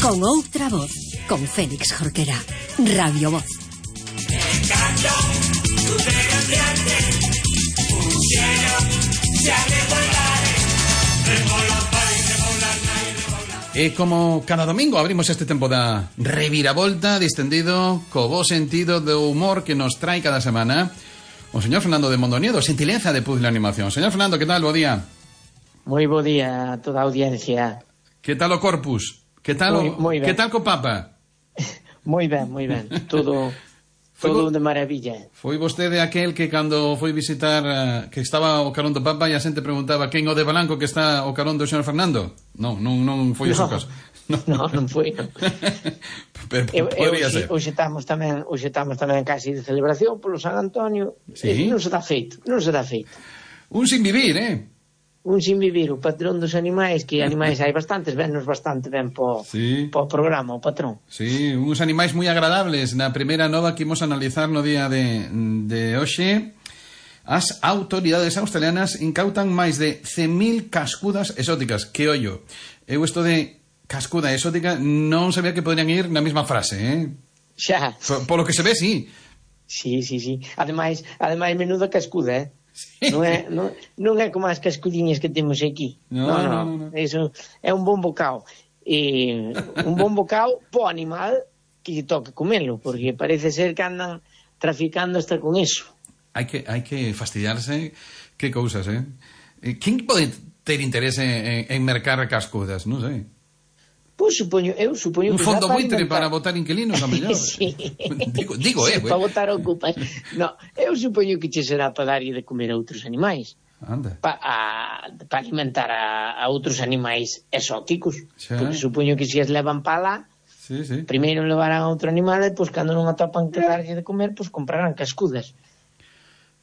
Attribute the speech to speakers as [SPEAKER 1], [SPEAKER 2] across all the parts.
[SPEAKER 1] Con outra voz, con Félix Jorquera. Radio Voz.
[SPEAKER 2] E como cada domingo abrimos este tempo da reviravolta distendido co bo sentido do humor que nos trae cada semana o señor Fernando de Mondoniedo, xentileza de Puzzle Animación. Señor Fernando, que tal? Bo día.
[SPEAKER 3] Moi bo día a toda a audiencia.
[SPEAKER 2] Que tal o Corpus? Que tal
[SPEAKER 3] moi ben.
[SPEAKER 2] Que tal co Papa?
[SPEAKER 3] Moi ben. Todo de maravilla.
[SPEAKER 2] Foi vostede aquel que cando foi visitar que estaba o carón do Papa e a xente preguntaba quen o de Balanco que está o carón do señor Fernando? Non foi ese o caso.
[SPEAKER 3] Non foi.
[SPEAKER 2] Pero podría ser.
[SPEAKER 3] Hoxe estamos tamén casi de celebración polo San Antonio.
[SPEAKER 2] Sí.
[SPEAKER 3] Non se dá feito.
[SPEAKER 2] Un sin vivir,
[SPEAKER 3] Un sin vivir, o patrón dos animais, que animais hai bastantes, vennos bastante ben po programa, o patrón.
[SPEAKER 2] Sí, uns animais moi agradables. Na primeira nova que imos analizar no día de hoxe, as autoridades australianas incautan máis de 100.000 cascudas exóticas. Que ollo, eu isto de cascuda exótica non sabía que podrían ir na mesma frase,
[SPEAKER 3] Xa.
[SPEAKER 2] Polo que se ve, sí.
[SPEAKER 3] Sí. Ademais, menuda cascuda,
[SPEAKER 2] Sí.
[SPEAKER 3] Non é como as cascudiñas que temos aquí. No. Eso é un bon bocao. Un bon bocao po animal que lle toca comelo, porque parece ser que andan traficando hasta con eso.
[SPEAKER 2] Hai que fastidiarse. Que cousas, Quen pode ter interese en mercar cascudas? Non sei.
[SPEAKER 3] Pois eu supoño
[SPEAKER 2] un fondo buitre para botar inquilinos, a mellor.
[SPEAKER 3] Sí.
[SPEAKER 2] Digo,
[SPEAKER 3] para botar ocupas. No, eu supoño que che será para darlle de comer a outros animais.
[SPEAKER 2] Anda.
[SPEAKER 3] Para alimentar a outros animais exóticos.
[SPEAKER 2] Xa.
[SPEAKER 3] Porque supoño que se as levan para lá,
[SPEAKER 2] Sí.
[SPEAKER 3] primeiro levarán a outro animal e pois cando non atopan que darlle de comer, pois comprarán cascudas.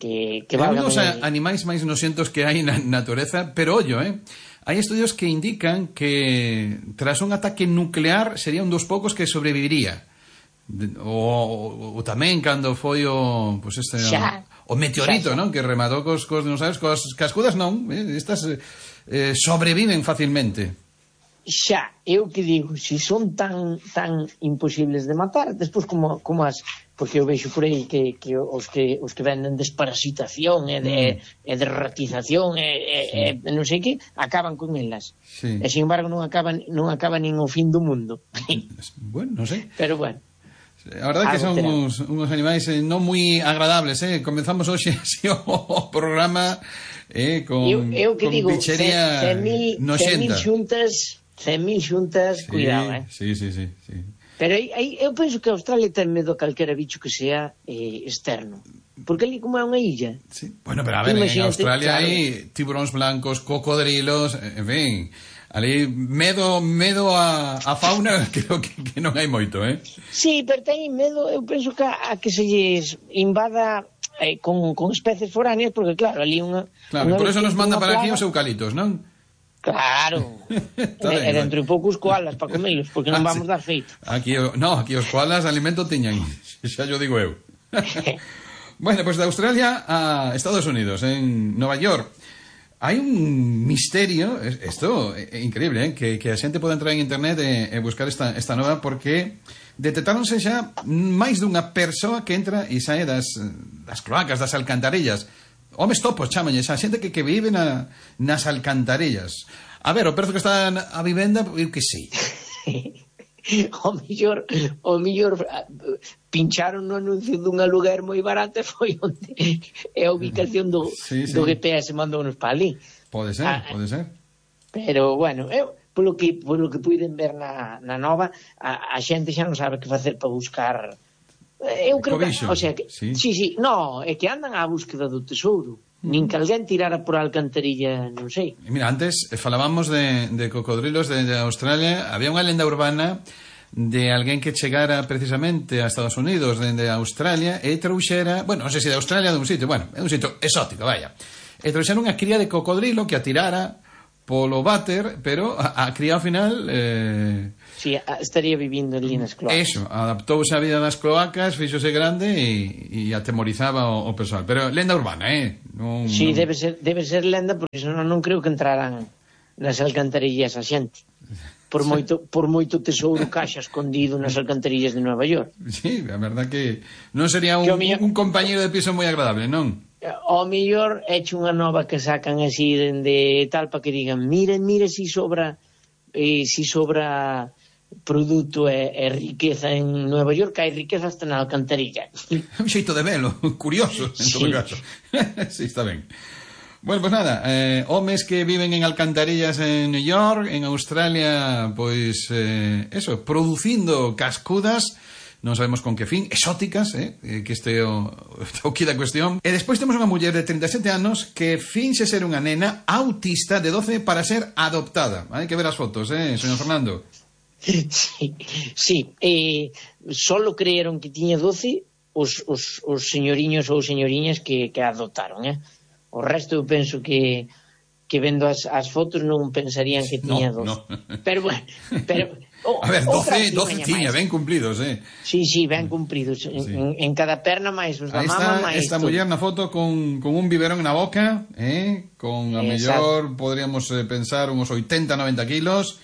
[SPEAKER 3] Que valgan
[SPEAKER 2] dos animais máis noxentos que hai na natureza, pero ollo, hai estudios que indican que tras un ataque nuclear sería un dos poucos que sobreviviría. O tamén cando foi o meteorito, non? Que rematou cos dinosaurios, cos cascudas non, estas sobreviven facilmente.
[SPEAKER 3] Xa, eu que digo, se son tan imposibles de matar, despois como as, porque eu vexo por aí que os que venden desparasitación e de ratización e non sei que, acaban con elas.
[SPEAKER 2] Sí.
[SPEAKER 3] E sin embargo non acaban nin o fin do mundo.
[SPEAKER 2] Bueno, non sei.
[SPEAKER 3] Pero bueno.
[SPEAKER 2] A verdade que son uns animais non moi agradables, Comenzamos hoxe así o programa con bichería noxenta.
[SPEAKER 3] 100.000 xuntas, cuidado,
[SPEAKER 2] Sí.
[SPEAKER 3] Pero eu penso que Australia ten medo a calquera bicho que sea externo. Porque ali como é unha illa.
[SPEAKER 2] Sí. Bueno, pero a ver, en Australia hai tiburóns blancos, cocodrilos, en fin, ali medo a fauna creo que non hai moito,
[SPEAKER 3] Sí, pero ten medo, eu penso que a que se lles invada con especies foráneas, porque claro, ali unha...
[SPEAKER 2] Claro, por eso nos manda para aquí os eucalitos, non?
[SPEAKER 3] Claro. E dentro de pouco os koalas para comelos, porque non vamos dar feito.
[SPEAKER 2] Aquí os koalas alimento tiñan, xa yo digo eu. Bueno, pues de Australia a Estados Unidos, en Nova York, hai un misterio, isto é increíble, que a xente pode entrar en internet e buscar esta nova, porque detectáronse xa máis dunha persoa que entra e sae das cloacas, das alcantarillas. Homes topos, chamanlle, xa xente que vive nas alcantarillas. A ver, o prezo que está a vivenda, eu que sei.
[SPEAKER 3] O mellor pincharon no anuncio dun aluguer moi barato e foi onde é a ubicación do GPS mandounos para ali.
[SPEAKER 2] Pode ser.
[SPEAKER 3] Pero, bueno, eu polo que puiden ver na nova, a xente xa non sabe que facer para buscar... Eu creo que, o sea, sí, no, é que andan á búsqueda do tesouro. Nin que alguén tirara por a alcantarilla, non sei.
[SPEAKER 2] Mira, antes falábamos de cocodrilos de Australia. Había unha lenda urbana de alguén que chegara precisamente a Estados Unidos dende Australia e trouxera, bueno, non sei se de Australia de un sitio, bueno, é un sitio exótico, vaya. E trouxera unha cría de cocodrilo que a tirara polo váter, pero a cría ao final...
[SPEAKER 3] Sí, estaría vivindo ali nas cloacas.
[SPEAKER 2] Eso, adaptouse a vida das cloacas, fíxose grande e atemorizaba o persoal. Pero lenda urbana,
[SPEAKER 3] Sí, debe ser lenda, porque senón non creo que entraran nas alcantarillas a xente. por moito tesouro caixa escondido nas alcantarillas de Nova York.
[SPEAKER 2] Sí, a verdad que non sería un compañero de piso moi agradable, non?
[SPEAKER 3] Ao mellor eche unha nova que sacan así de tal para que digan, mire si sobra produto e riqueza en Nova York, hai riqueza hasta na alcantarilla.
[SPEAKER 2] Un xeito de velo, curioso, en todo caso. Sí, está ben. Bueno, pues nada, homes que viven en alcantarillas en New York, en Australia, pois, eso, producindo cascudas, non sabemos con que fin, exóticas, que este o que da cuestión. E despois temos unha muller de 37 anos que finxe ser unha nena autista de 12 para ser adoptada. Hai que ver as fotos, señor Fernando.
[SPEAKER 3] Sí. Solo creeron que tiña 12 os señoriños ou señoriñas que adoptaron, O resto eu penso que vendo as fotos non pensarían que tiña 12. No. Pero bueno,
[SPEAKER 2] a ver, 12 tiña, ben cumplidos,
[SPEAKER 3] Sí, ben cumplidos. Sí. En cada perna máis os da mama máis.
[SPEAKER 2] Esta muller na foto con un biberón na boca, con a mellor podríamos pensar uns 80-90 kilos.